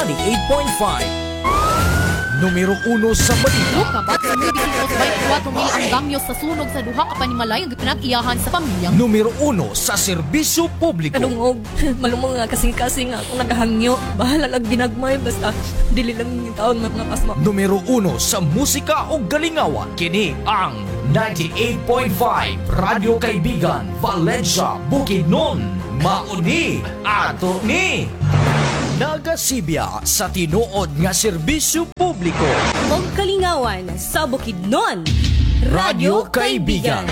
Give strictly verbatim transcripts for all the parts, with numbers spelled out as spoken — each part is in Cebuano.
ninety-eight point five. Numero uno sa balita. Lukabat sa nine point four mil ang damyo sa sunog sa duha ka panimalay ang gipinag-iyahan sa pamilyang. Numero uno sa serbisyo publiko. Kadungog, malumong nga kasing-kasing akong nagahangyo. Bahala lang ginagmay, basta dili lang yung taon mga pasma. Numero uno sa musika o galingawan. Kini ang ninety-eight point five Radyo Kaibigan, Valencia, Bukidnon. Mauni ato ni Nagasibya sa tinuod nga serbisyo publiko. Og kalingawan sa Bukidnon. Radyo Kaibigan.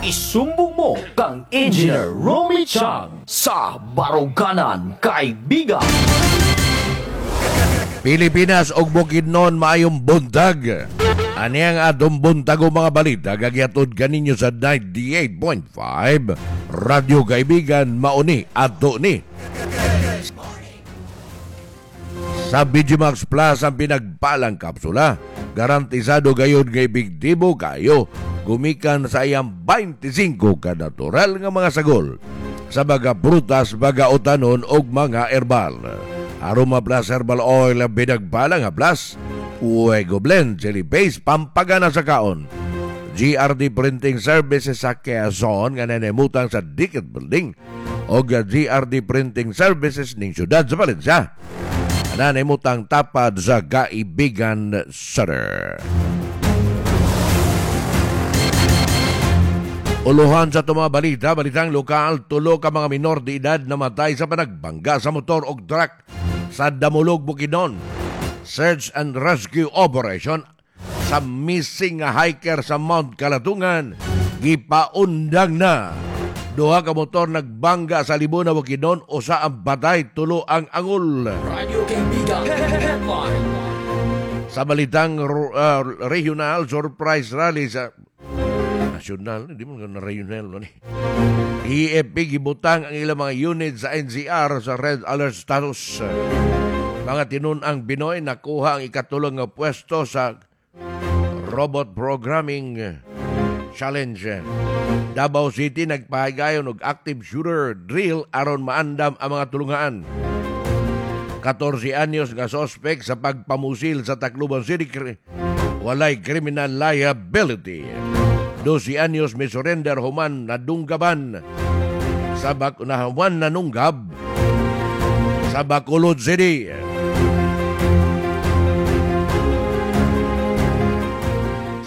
Isumbong mo kang Engineer Romy Chang sa Baruganan Kaibigan. Pilipinas og Bukidnon, maayong buntag. Ani ang atong buntag o mga balita gagiatod kaninyo sa ninety-eight point five Radyo Kaibigan, mauni ato ni. Sa B G Max Plus ang pinagpalang kapsula, garantisado gayud nga epektibo kayo gumikan sa iyang twenty-five ka natural nga mga sagol sa baga prutas, baga utanon og mga herbal. Aroma Plus Herbal Oil ang pinagpalang nga Plus, Fuego Blend, Jelly Base, pampagana sa kaon. G R D Printing Services sa Quezon nga nanemutang sa Dickett Building og G R D Printing Services ning siyudad sa Valencia. Nanemutang tapad sa Kaibigan Center. Uluhan sa itong mga balita, balitang lokal, tulo ka mga minor de edad namatay sa panagbangga sa motor og truck sa Damulog, Bukidnon. Search and rescue operation sa missing hiker sa Mount Kalatungan, gipaundang na. Duha ka motor nagbangga sa Libuna, Bukidnon, usa ang patay, tulo ang angol. Radio Kaibigan Headline. Sa balitang uh, regional, surprise rally sa national, hindi mo na regional no ni. E F P gibutang ang ilang mga unit sa N C R sa red alert status. Mga tinun-ang Pinoy nakuha ang ikatulong nga pwesto sa robot programming challenge. Davao City nagpahigayon og active shooter drill aron maandam ang mga tulungaan. fourteen anyos nga sospek sa pagpamusil sa Tacloban City, walay criminal liability. twelve anyos may surrender human nadunggaban sa bak na human nanunggab sa Bacolod City.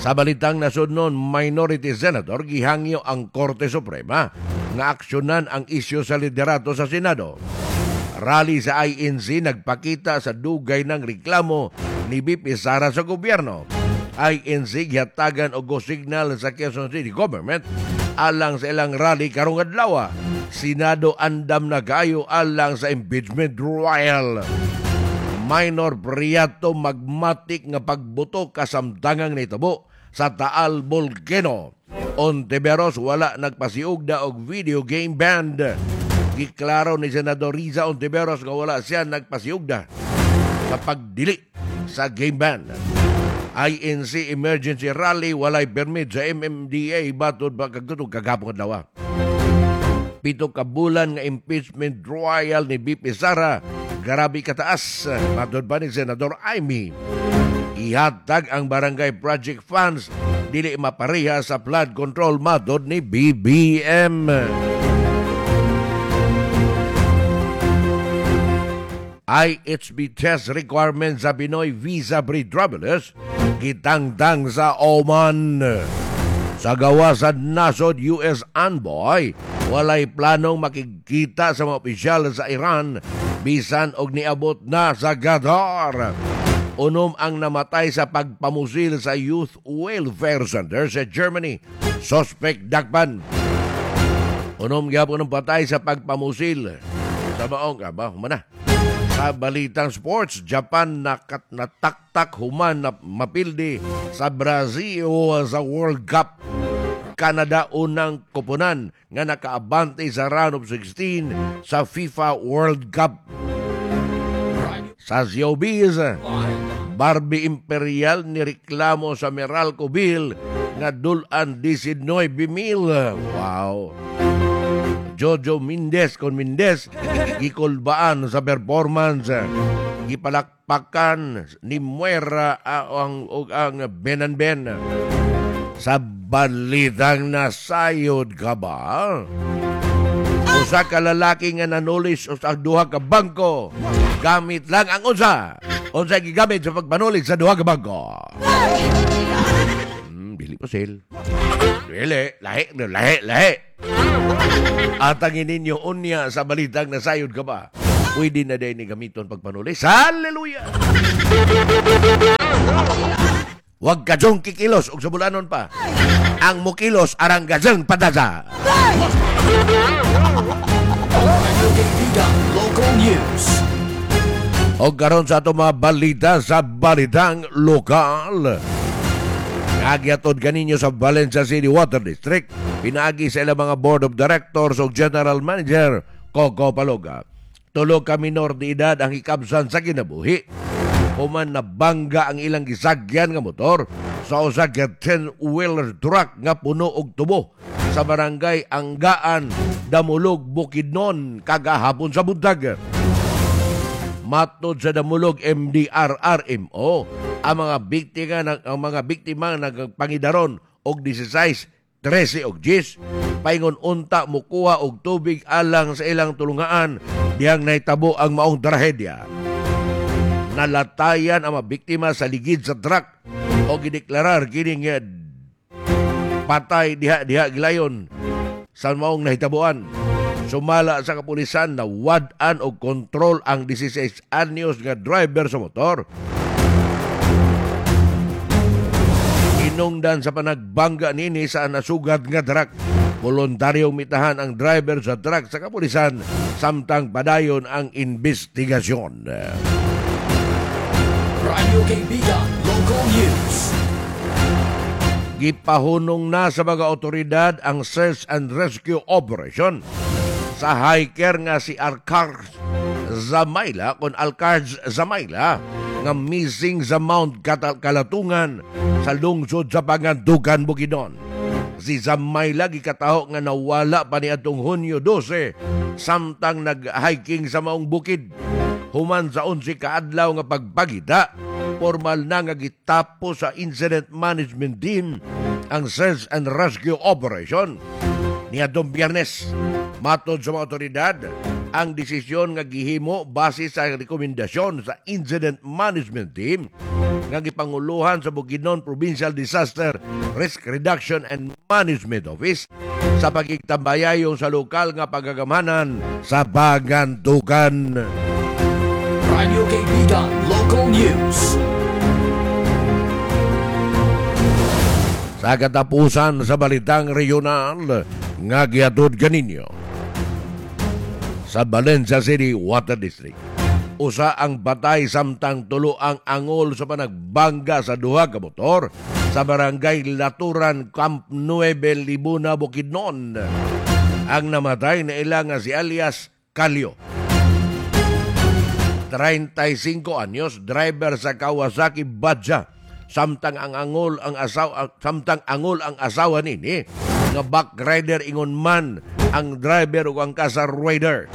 Sa balitang nasudnon, minority senator gihangyo ang Korte Suprema nga aksyonan ang isyu sa liderato sa Senado. Rally sa I N C nagpakita sa dugay ng reklamo ni B P Sara sa gobyerno. I N C gihatagan og go signal sa Quezon City Government alang sa ilang rally karong adlaw. Senado andam na kayo alang sa impeachment trial. Minor Priato magmatik nga pagbuto kasamtangang nitabo sa Taal Volcano. Ontiveros wala nagpasiugda og video game band. Giklaro ni Senador Riza Ontiveros nga wala siya nagpasiugda sa pagdili sa game band. I N C emergency rally walay permit sa M M D A batod ba kagtutong kagapong adlaw. Pito ka bulan nga impeachment trial ni B P Sara grabe kataas matod pa ni Senador Amy. Ihatag ang barangay project funds dili mapareha sa flood control matod ni B B M. I H B test requirement sa Pinoy visa free travelers gitangtang sa Oman. Sa gawasan nasod U S envoy walay planong makikita sa mga opisyal sa Iran bisan og niabot na sa Qatar. Unom ang namatay sa pagpamusil sa Youth Welfare Center sa Germany. Suspect dakpan. Unom gyapon ang patay sa pagpamusil sa maong aba humana. Sa balitang sports, Japan nakat nataktak human na mapildi sa Brazil sa World Cup. Canada unang koponan nga nakaabante sa round of sixteen sa FIFA World Cup. Sa showbiz, Barbie Imperial nireklamo sa Meralco bill nga dulan nineteen mil. Wow. Jojo Mendez kon Mendez gikulbaan sa performance. Gipalakpakan ni Muera ang, ang, ang Ben and Ben. Sa balitang nasayod ka ba? Usa ka lalaki nga nanulis sa duha ka bangko. Gamit lang ang unsa. Unsa gigamit sa pagpanulis sa duha ka bangko? Hmm, dili pa sale. Dili, lahi, lahi, lahi. Atangin ninyo unya sa balitang nasayod ka ba? Pwede na din ni gamiton pagpanulis. Hallelujah! Huwag ka dyong kikilos og sabulanon pa. Ang mukilos arang gazang padaza. Radyo Kaibigan Local News. O karon sa ato mga balita sa balitang lokal. Nagyatod kaninyo sa Valencia City Water District, pinaagi sa ilang mga Board of Directors o General Manager Coco Paloga. Tulo ka minor de edad ang hikabsan sa kinabuhi. Human nabangga ang ilang gisagyan nga motor sa usa ka ten-wheeler truck nga puno og tubo sa barangay Anggaan, Damulog, Bukidnon kagahapon sa buntag. Matod sa Damulog M D R R M O, ang mga biktima ang mga biktima nagpangidaron og labing-sais, trese og diyes, paingon unta mukuha og tubig alang sa ilang tulungaan dihang nahitabo ang maong trahedya. Nalatayan ang mga biktima sa ligid sa truck o gideklarar kining patay diha-diha gilayon sa maong nahitabuan. Sumala sa kapulisan na wad-an og kontrol ang labing-sais anyos nga driver sa motor. Inungdan sa panagbangga nini sa nasugat nga truck. Voluntaryong mitahan ang driver sa truck sa kapulisan samtang padayon ang investigasyon. Radyo Kaibigan Local News. Gipahunong na sa mga otoridad ang search and rescue operation sa hiker nga si Alcar Zamaila kon Alcar Zamaila nga missing sa Mount Kalatungan sa lungsod sa Pangandukan, Bukidnon. Si Zamaila gikataho nga nawala pa niadtong Hunyo dose samtang nag-hiking sa maong bukid. Human sa onse kaadlaw nga pagpagita, formal na nga gitapos sa Incident Management Team ang search and rescue operation niadtong Biyernes. Matod sa mga otoridad, ang desisyon nga gihimo base sa rekomendasyon sa Incident Management Team nga gipanguluhan sa Bukidnon Provincial Disaster Risk Reduction and Management Office sa pagigtambayayon sa lokal nga pagagamanan sa Pangantukan. Radyo Kaibigan Local News. Sa katapusan sa balitang regional nga gihatod kaninyo sa Valencia City Water District, usa ang batay samtang tulo ang angol sa panagbangga sa duha ka motor sa barangay Laturan, Camp Nueve, Libuna, Bukidnon. Ang namatay na ila nga si alias Calio, treinta y cinco anyos, driver sa Kawasaki Badja, samtang ang angol ang asawa, samtang angol ang asawa nini nga back rider ingon man ang driver ug ang kasa rider.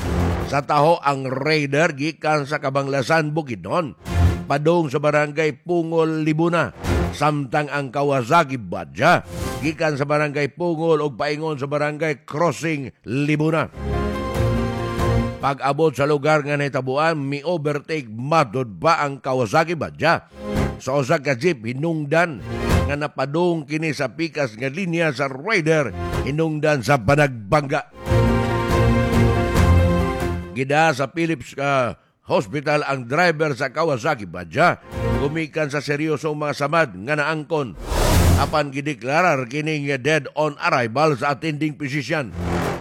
Sa taho ang rider gikan sa Kabanglasan, Bukidnon, padung sa barangay Pungol, Libuna, samtang ang Kawasaki Badja gikan sa barangay Pungol ug paingon sa barangay Crossing, Libuna. Pag-abot sa lugar nga nahitabuan, mi-overtake matod pa ang Kawasaki Badja sa usa ka jeep hinungdan nga napadung kini sa pikas nga linya sa rider hinungdan sa panagbangga. Gida sa Philips uh, Hospital ang driver sa Kawasaki Badja gumikan sa seryosong mga samad nga naangkon apan gideklarar kining dead on arrival sa attending physician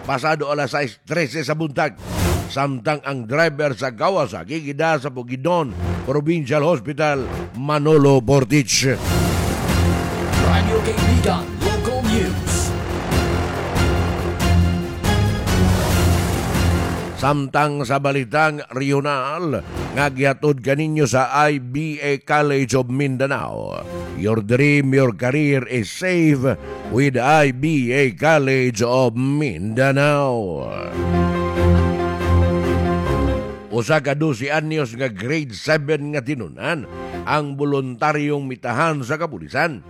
pasado alas sais trese sa buntag. Samtang ang driver sa Kawasaki gida sa Bukidnon Provincial Hospital, Manolo Fortich. Radyo Kaibigan Local News. Samtang sa balitang regional nga gihatod kaninyo sa I B A College of Mindanao. Your dream, your career is safe with I B A College of Mindanao. Usa ka dose anyos nga grade seven nga tinunan ang voluntaryong mitahan sa kapulisan.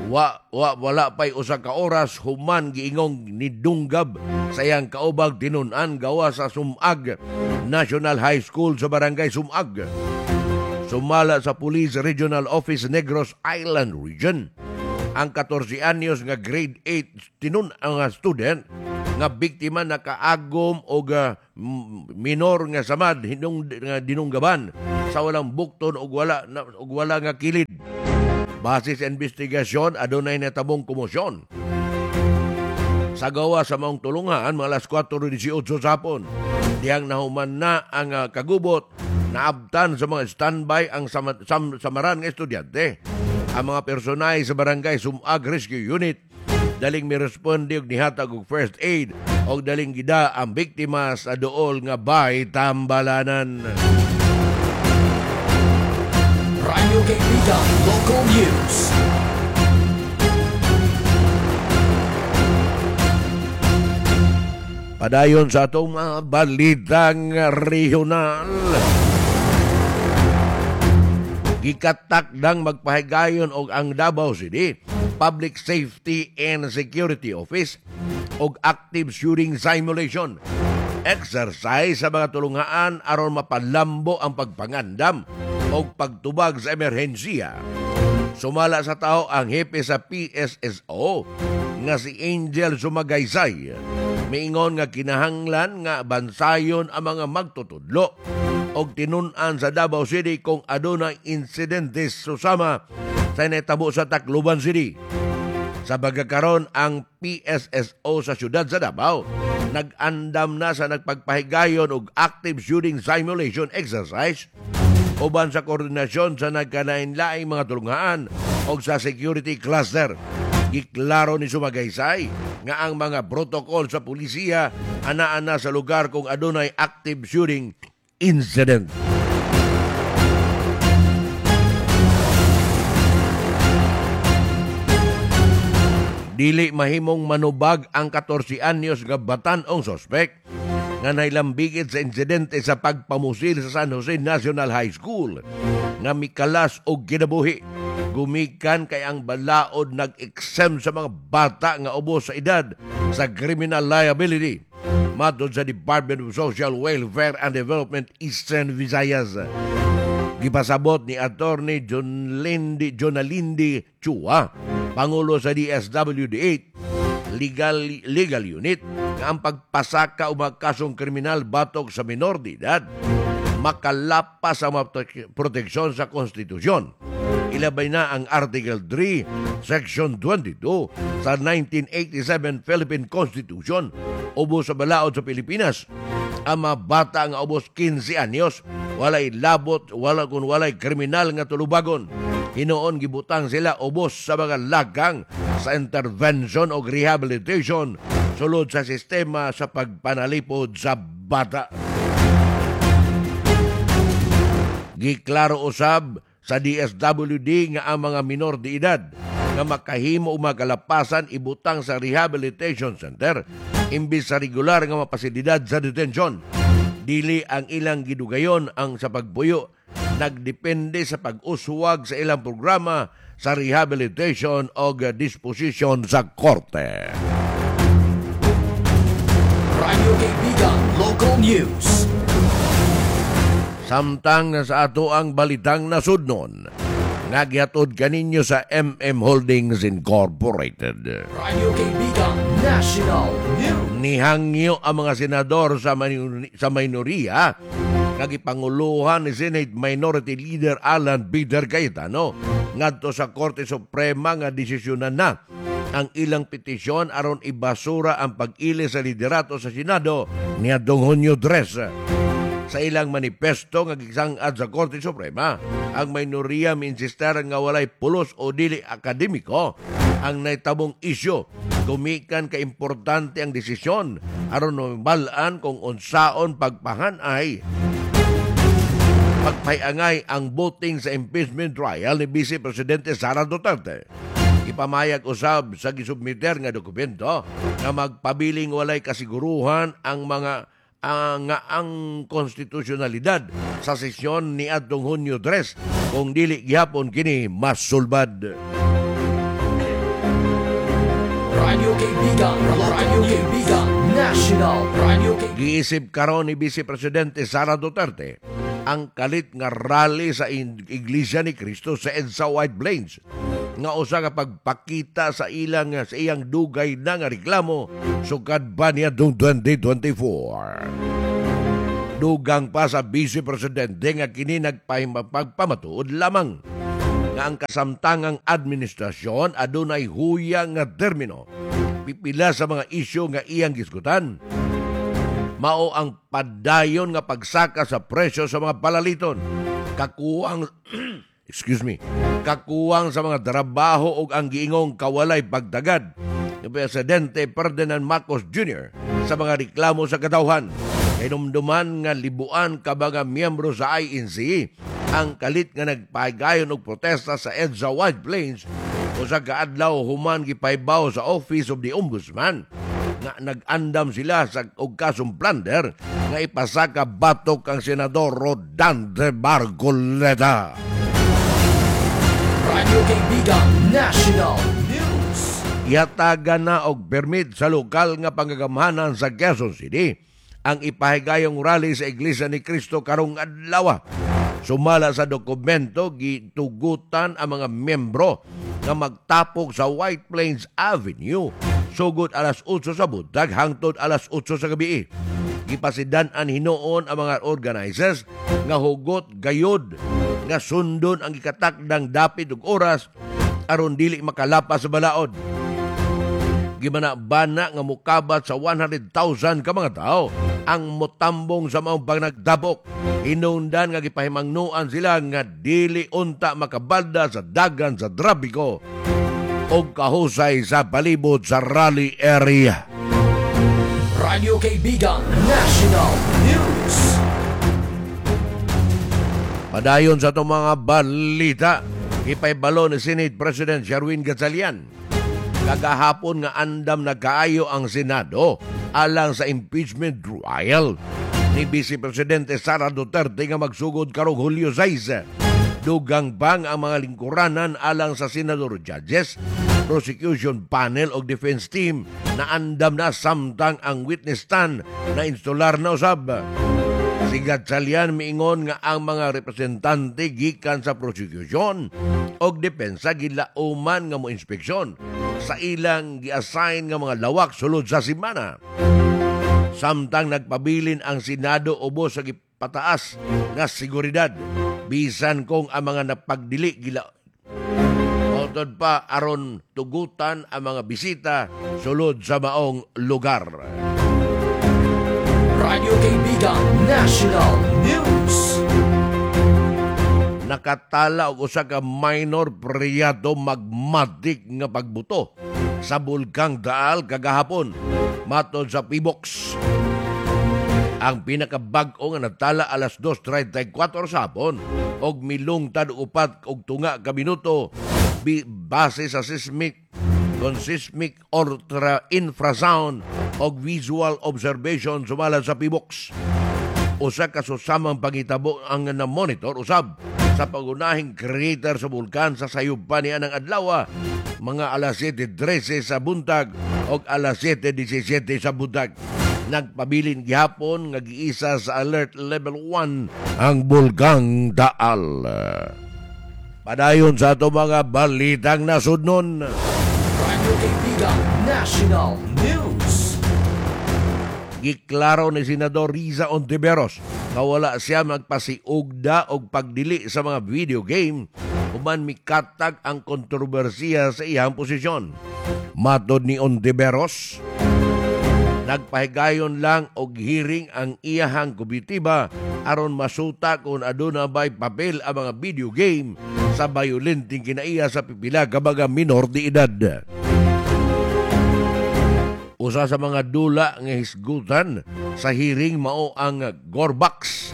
Wa, wa, wala pa'y usa ka oras human giingong nidunggab sa iyang kaubag tinunan gawa sa Sumag National High School sa Barangay Sumag. Sumala sa Police Regional Office Negros Island Region, ang katorse anyos nga grade eight tinun ang student nga biktima nakaagom og uh, minor nga samad hinung nga dinunggaban sa walang bukton og wala na, og wala nga kilid. Base sa investigasyon, adunay natabong komosyon. Sa gawa sa maong tulungan, mga alas kwatro diesiyotso sa hapon, dihang nahuman na ang uh, kagubot, naabtan sa mga standby ang sama, sam, samaran nga estudyante. Ang mga personay sa Barangay Sumag Rescue Unit daling miresponde og nihatag og first aid og daling gida ang biktima sa duol nga bay Tambalanan. Radyo Kaibigan Local News. Padayon sa atong mga balitang regional. Gikatakdang magpahigayon og ang Davao City Public Safety and Security Office og active shooting simulation exercise sa mga tulungaan aron mapalambo ang pagpangandam og pagtubag sa emerhensiya. Sumala sa tao ang hepe sa P S S O nga si Angel Sumagaysay. Miingon nga kinahanglan nga bansayon ang mga magtutudlo og tinun-an sa Davao City kung adunay insidente susama sa natabo sa Tacloban City. Sa pagkakaron, ang P S S O sa siyudad sa Davao nag-andam na sa nagpagpahigayon og active shooting simulation exercise uban sa koordinasyon sa nagkalain-laing mga tulungaan og sa security cluster. Giklaro ni Sumagaysay nga ang mga protokol sa pulisya ana-ana sa lugar kung adunay active shooting incident. Dili mahimong manubag ang katorse anyos nga batan-ong sospek nga nailambigit sa insidente sa pagpamusil sa San Jose National High School nga mikalas og kinabuhi. Gumikan kay ang balaod nag-exempt sa mga bata nga ubos sa edad sa criminal liability. Matod sa Department of Social Welfare and Development Eastern Visayas. Gipasabot ni Attorney John Lindy, Jonalindi Chua, Pangulo sa D S W D eight Legal, Legal Unit, nga ang pagpasaka o mga kasong kriminal batok sa minor de edad makalapas ang mga proteksyon sa konstitusyon. Ilabay na ang Article three, Section twenty-two sa nineteen eighty-seven Philippine Constitution ubos sa balaod sa Pilipinas. Ang mga bata nga ubos kinse anyos, walay labot, wala kung walay kriminal nga tulubagon. Hinoon gibutang sila ubos sa mga lagang sa intervention o rehabilitation sulod sa sistema sa pagpanalipod sa bata. Giklaro usab sa D S W D nga ang mga minor de edad nga makahimo o makalapasan ibutang sa rehabilitation center imbis sa regular nga mapasilidad sa detensyon. Dili ang ilang gidugayon ang sa pagbuyo nagdepende sa pag-uswag sa ilang programa sa rehabilitation o disposition sa korte. Radyo Kaibigan Local News. Samtang sa ato ang balitang nasudnon, nga gihatod kaninyo sa M M Holdings Incorporated. Radyo Kaibigan National News. Nihangyo ang mga senador sa, minor- sa minoriya nga gipanguluhan ni Senate Minority Leader Alan Peter Cayetano ngadto sa Korte Suprema nga desisyonan na ang ilang petisyon aron ibasura ang pag-ili sa liderato sa Senado niadtong Hunyo tres. Sa ilang manifesto nga gisangad sa Korte Suprema, ang minoriya miinsistar nga walay pulos o dili akademiko ang naitabong isyu. Gumikan ka importante ang desisyon aron mabalaan kung unsaon pagpahanay pagpayangay ang voting sa impeachment trial ni Vice Presidente Sara Duterte. Ipamayag usab sa gisubmiter nga dokumento nga magpabiling walay kasiguruhan ang mga ang nga ang konstitusyonalidad sa sesyon ni adtong Hunyo tres kung dili gihapon kini masulbad. Radyo Kaibigan, Radyo Kaibigan, National Radyo Kaibigan. Giisip karon ni Vice Presidente Sara Duterte ang kalit nga rally sa Iglesia ni Cristo sa EDSA White Plains nga usa ka pagpakita sa ilang sa iyang dugay na nga reklamo sukad pa niya twenty twenty-four. Dugang pa sa Vice Presidente nga kini nagpahimapagpamatuod lamang nga ang kasamtangang administrasyon adunay huya nga termino. Pipila sa mga isyu nga iyang gisgutan mao ang padayon nga pagsaka sa presyo sa mga palaliton, kakuwang, excuse me, kakuwang sa mga trabaho ug ang giingong kawalay pagtagad ni Presidente Ferdinand Marcos Junior sa mga reklamo sa katawhan. Hinumduman nga libuan ka mga miyembro sa I N C ang kalit nga nagpahigayon og protesta sa EDSA White Plains usa ka adlaw human gipahibaw sa Office of the Ombudsman nga nag-andam sila sa og kasong plunder nga ipasaka batok ang Senador Rodante Marcoleta. Radyo Kaibigan National News. Yatagan na og permit sa lokal nga pangagamhanan sa Quezon City ang ipahigayong rally sa Iglesia ni Cristo karong adlaw. Sumala sa dokumento, gitugutan ang mga miyembro nga magtapok sa White Plains Avenue sugod alas otso sa buntag hangtod alas otso sa gabi. Gipasidan-an hinuon ang mga organizers nga hugot gayod nga sundon ang gikatakdang dapit ug oras aron dili makalapas sa balaod. Gibana-bana nga mukabat sa one hundred thousand ka mga tao ang motambong sa maong panagtabok. Hinungdan nga gipahimangnuan sila nga dili unta makabalda sa dagan sa trapiko o kahusay sa palibot sa rally area. Radyo Kaibigan National News. Padayon sa itong mga balita, ipahibalo ni Senate President Sherwin Gatchalian kagahapon nga andam na kaayo ang Senado alang sa impeachment trial ni Vice Presidente Sara Duterte nga magsugod karong Hulyo sais. Dugang pang ang mga lingkuranan alang sa senador judges, prosecution panel o defense team na andam na samtang ang witness stand na instalar na usab. Si Gatchalian miingon nga ang mga representante gikan sa prosecution o depensa gilauman nga mo inspeksyon sa ilang gi-assign nga mga lawak sulod sa semana. Samtang nagpabilin ang Senado ubos sa gipataas nga seguridad bisan kung ang mga napagdili gila Mautod pa aron tugutan ang mga bisita sulod sa maong lugar. Radyo Kaibigan National News. Nakatala og usa ka minor phreatomagmatic nga pagbuto sa Bulkang Taal kagahapon, matod sa Phivolcs. Ang pinakabag-o nga natala alas dos trentay kwatro sa hapon og milungtad upat og tunga ka minuto base sa seismic kon seismic ultra infrasound og visual observation, sumala sa Phivolcs. Usa ka susamang pangitabo ang na-monitor usab sa pangunahing crater sa bulkan sa sayop pa niya ng adlaw, mga alas siyete trese sa buntag o alas siyete disisiete sa buntag. Nagpabilin gihapon nga giisa sa alert level one ang Bulkang Taal. Padayon sa ato mga balitang nasudnon. Radyo Kaibigan National News. Giklaro ni Senador Risa Hontiveros nga wala siya magpasiugda og pagdili sa mga video game human mikatag ang kontrobersiya sa iyang posisyon. Matod ni Hontiveros, nagpahigayon lang og hearing ang iyahang komitiba aron masuta kung aduna ba'y papel ang mga video game sa bayolenteng kinaiya sa pipila ka mga minor de edad. Usa sa mga dula nga hisgutan sa hearing mao ang Gorbax.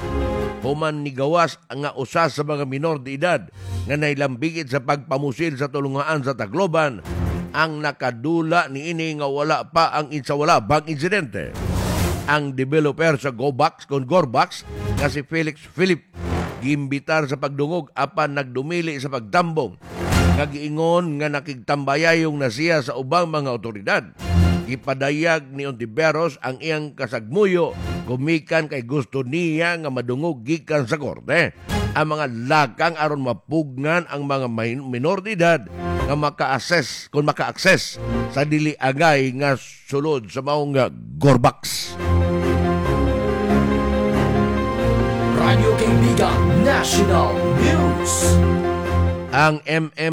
Human nigawas nga usa sa mga minor de edad nga nailambigit sa pagpamusil sa tulungaan sa Tacloban ang nakadula niini nga wala pa ang sa wala bang insidente. Ang developer sa Gobax kon Gorbax nga si Felix Philip giimbitar sa pagdungog apan nagdumili sa pagtambong nga giingon nga nakigtambayayong na siya sa ubang mga otoridad. Gipadayag ni Hontiveros ang iyang kasagmuyo gumikan kay gusto niya nga madungog gikan sa korte ang mga lakang aron mapugnan ang mga minor de edad nga maka-access kung maka-access sa dili angay nga sulod sa maong Gorbax. Radyo Kaibigan National News. Ang M M